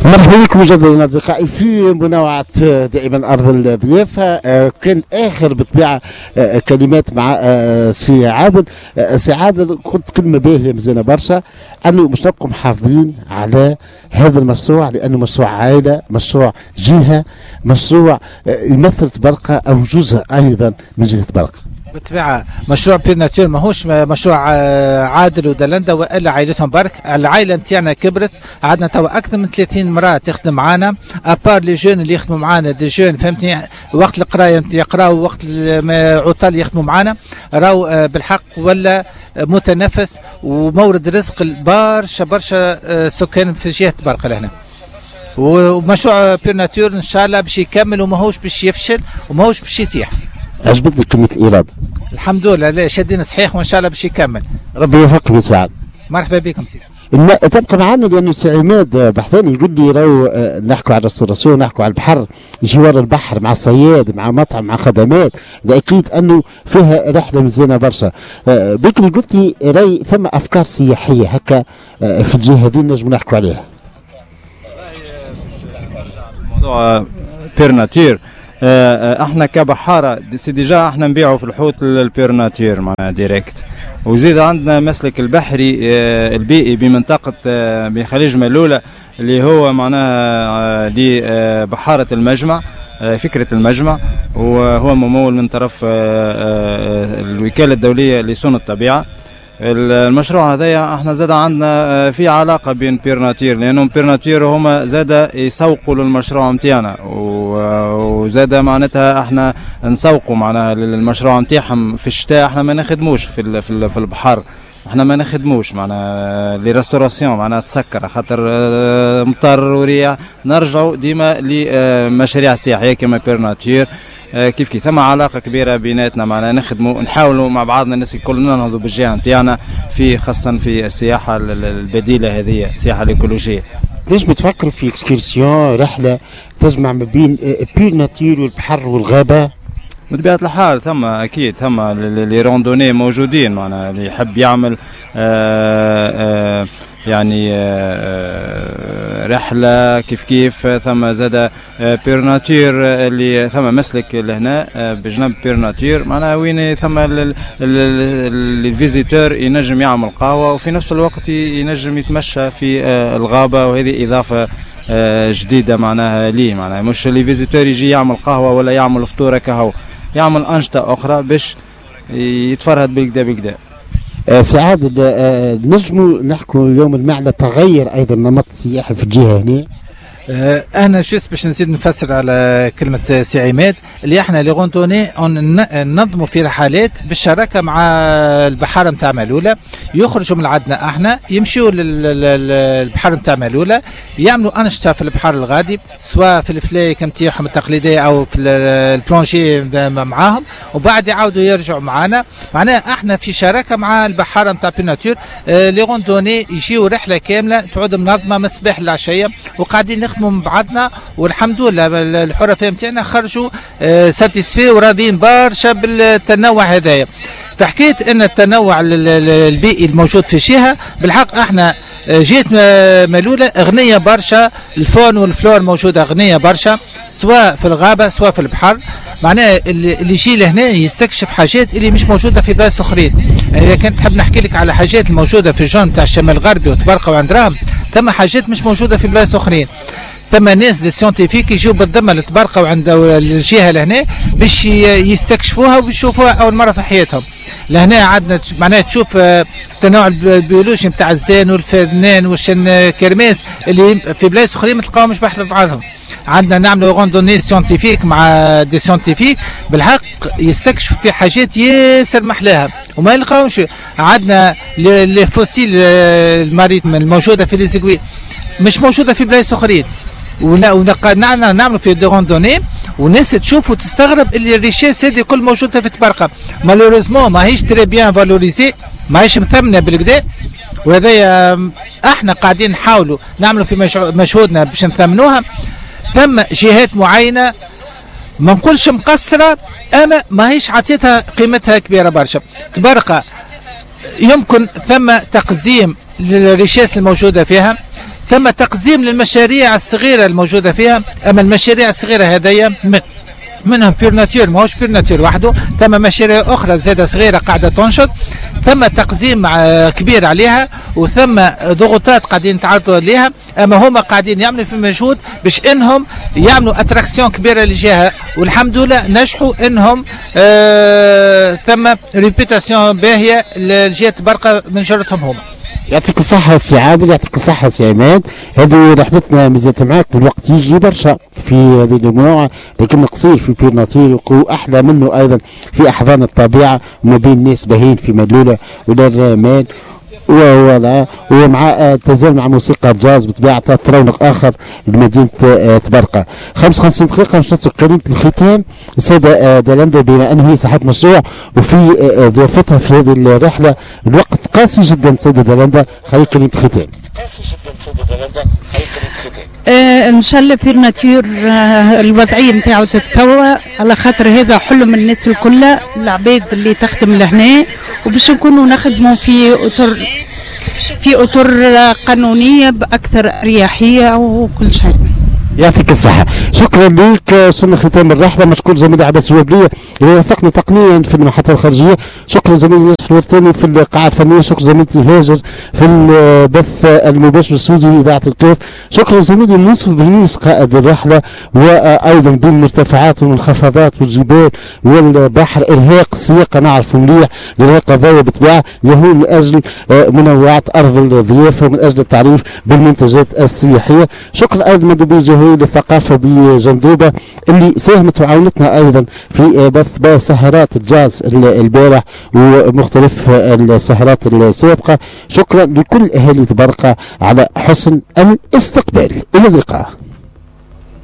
مرحبا بكم مجددا اصدقائي في منوعة دائما ارض الضيافه. كان اخر بالطبيعة كلمات مع سي عادل. سي عادل، قلت كلمة باهيه مزيانه برشا، انه مش نبقوا محافظين على هذا المشروع لانه مشروع عائله، مشروع جهه، مشروع يمثل طبرقه او جزء ايضا من جهة طبرقه. بالطبيعة مشروع Pure Nature ماهوش مشروع عادل ودلندا والا عائلتهم برك. العائلة نتاعنا كبرت، عندنا توا اكثر من 30 امراة تخدم معانا، à part les jeunes اللي يخدموا معانا، des jeunes فهمتني، وقت القراية يقراوا، وقت عطل يخدموا معانا. راهو بالحق ولا متنفس ومورد رزق برشا برشا سكان في جهة طبرقه لهنا. ومشروع Pure Nature ان شاء الله باش يكمل وماهوش باش يفشل وماهوش باش يتيح. عجبتني كلمة الارادة. الحمد لله، لا شادين صحيح وان شاء الله باش يكمل. ربي يوفقك ويسعد. مرحبا بكم سيدي. تبقى معنا لانه سي عماد بحثاني يقول لي راهو نحكوا على ال restauration، نحكوا على البحر، جوار البحر مع الصياد، مع مطعم، مع خدمات، اكيد انه فيها رحله مزيانه برشا. بكري قلت لي راي ثم افكار سياحية هكا في الجهة هذه نجم نحكوا عليها. موضوع Pure Nature، احنا كبحاره c'est déjà احنا نبيعوا في الحوت ال Pure Nature معناها direct، وزيد عندنا مسلك البحري البيئي بمنطقة بخليج ملوله اللي هو معناها لبحاره المجمع، فكرة المجمع، وهو ممول من طرف الوكالة الدولية لصون الطبيعه. المشروع هذايا احنا زاد عندنا في علاقة بين Pure Nature، لانهم Pure Nature هما زاد يسوقوا للمشروع نتاعنا، وزاد معناتها احنا نسوقوا معناها للمشروع نتاعهم. في الشتاء احنا ما نخدموش في البحر، احنا ما نخدموش معناها les restaurations معناها تسكر خاطر مطر ورياح. نرجعوا ديما لمشاريع سياحية كما Pure Nature. كيف كيف ثم علاقة كبيرة بيناتنا، معناها نخدموا نحاولوا مع بعضنا الناس الكل ننهضوا بالجهة نتاعنا في خاصة في السياحة البديلة هذه، السياحة الايكولوجيه. ليش بتفكروا في excursion، رحله تجمع ما بين Pure Nature والبحر والغابه؟ بطبيعة الحال ثم اكيد ثم les randonnées موجودين، معناها اللي يحب يعمل يعني رحله كيف كيف ثم زاد Pure Nature اللي ثم مسلك لهنا بجنب Pure Nature، معناها وين ثم ال visiteur ينجم يعمل قهوة وفي نفس الوقت ينجم يتمشى في الغابه، وهذه اضافه جديدة معناها ليه، معناها مش les visiteurs يجي يعمل قهوة ولا يعمل فطوره كهو، يعمل انشطة اخرى باش يتفرهد بالكدا بالكدا. سي عادل، نجموا نحكوا اليوم المعنى تغير ايضا النمط السياحي في الجهة هنا؟ انا juste باش نزيد نفسر على كلمة سي عماد، اللي احنا les randonnées ننظموا في رحلات بالشراكة مع البحارة نتاع مالوله، يخرجوا من عندنا احنا يمشيوا للبحر نتاع مالوله، يعملوا انشطة في البحر الغادي، سواء في الفلايك نتاعهم التقليدية او في ال plongée معاهم، وبعد يعاودوا يرجعوا معنا. معناها احنا في شراكة مع البحارة نتاع Pure Nature. Les randonnées يجيو رحله كاملة تعود منظمة من الصباح للعشيه، وقاعدين نخدموا مع بعضنا، والحمد لله الحرفاء نتاعنا خرجوا satisfaits وراضيين برشا بالتنوع هذايا. فحكايه ان التنوع البيئي الموجود في الجهه، بالحق احنا جهة مالوله غنية برشا، ال faune وال flore موجودة غنية برشا، سواء في الغابة سواء في البحر. معناها اللي يجي لهنا يستكشف حاجات اللي مش موجودة في بلايص اخرين. يعني اذا كنت تحب نحكي لك على حاجات الموجودة في ال zone تاع الشمال الغربي وطبرقه وعين دراهم، ثم حاجات مش موجودة في بلايص اخرين. ثم ناس des scientifiques يجيو بالذمه لطبرقه وعند الجهة لهنا باش يستكشفوها ويشوفوها اول مرة في حياتهم. لهنا عندنا معناها تشوف التنوع البيولوجي نتاع الزان والفرنان وال chêne kermès اللي في بلايص اخرين ما تلقاهمش بحذا بعضهم. عندنا نعملوا randonnée scientifique مع des scientifiques، بالحق يستكشفوا في حاجات ياسر محلاها وما يلقاوش. عندنا les fossiles ال maritimes الموجودة في les Aiguilles مش موجودة في بلايص اخرين، نعملوا في des randonnées وناس تشوف وتستغرب اللي ال richesse هذه كل موجودة في طبرقه. malheureusement ماهيش très bien valorisée، ماهيش مثمنه بالكدا، وهذايا احنا قاعدين نحاولوا نعملوا في مجهودنا باش نثمنوها. ثم جهات معينة ما نقولش مقصره، اما ماهيش عطيتها قيمتها كبيرة برشا. طبرقه يمكن ثم تقزيم لل richesse الموجودة فيها. ثم تقزيم للمشاريع الصغيرة الموجودة فيها. اما المشاريع الصغيرة هذيا منهم Pure Nature، ماهوش Pure Nature وحده، ثم مشاريع اخرى زاده صغيرة قاعدة تنشط، ثم تقزيم كبير عليها وثم ضغوطات قاعدين يتعرضوا لها، اما هما قاعدين يعملوا في مجهود باش انهم يعملوا attraction كبيرة للجهة، والحمد لله نجحوا انهم ثم réputation باهيه لجهة برقه من جرتهم هما. يعطيك الصحة سي عادل، يعطيك الصحة سي عماد. هذه رحلتنا مازالت معاك والوقت يجي برشا في هذه المنوعة، لكن قصير في Pure Nature وأحلى منه أيضا في أحضان الطبيعة وما بين ناس باهين في ملولة ودار voilà، ومع تزال مع موسيقى جاز بطبيعة ترونق آخر لمدينة تبرقة. 55 دقيقة باش نترك كلمة الختام السيدة دالندا، بما أنه هي صاحبة مشروع وفي ضيافتها في هذه الرحلة الوقت قاسي جدا. سيدة دالندا خليك كلمة الختام. قاسي جدا سيدة دالندا، خليك كلمة الختام. ان شاء الله Pure Nature الوضعية نتاعو تتسوى، على خاطر هذا حلم الناس الكل، العباد اللي تخدم لهنا، وباش نكونوا نخدموا في اطر قانونية باكثر اريحية وكل شيء. يعطيك الصحة، شكرا لك. وصلنا ختام الرحلة، مشكور زميلي عباس الوبلية اللي وافقني تقنيا في المحطة الخارجية، شكرا زميلي ناجح الورتاني في القاعة الفنية، شكرا زميلتي هاجر في البث المباشر السوزي لإذاعة الكاف، شكرا زميلي منصف بنيس قائد الرحلة، وأيضا بين المرتفعات والمنخفضات والجبال والبحر، إرهاق السياقة نعرفه مليح، الإرهاق هذايا بالطبيعة يهون من أجل منوعات أرض الضيافة ومن أجل التعريف بالمنتجات السياحية. شكرا أيضا مندوبي الجهوي للثقافة بجندوبة اللي ساهمت وعاونتنا أيضا في بث سهرات الجاز البارح ومختلف السهرات السابقة. شكرا لكل أهالي تبرقة على حسن الاستقبال. إلى اللقاء.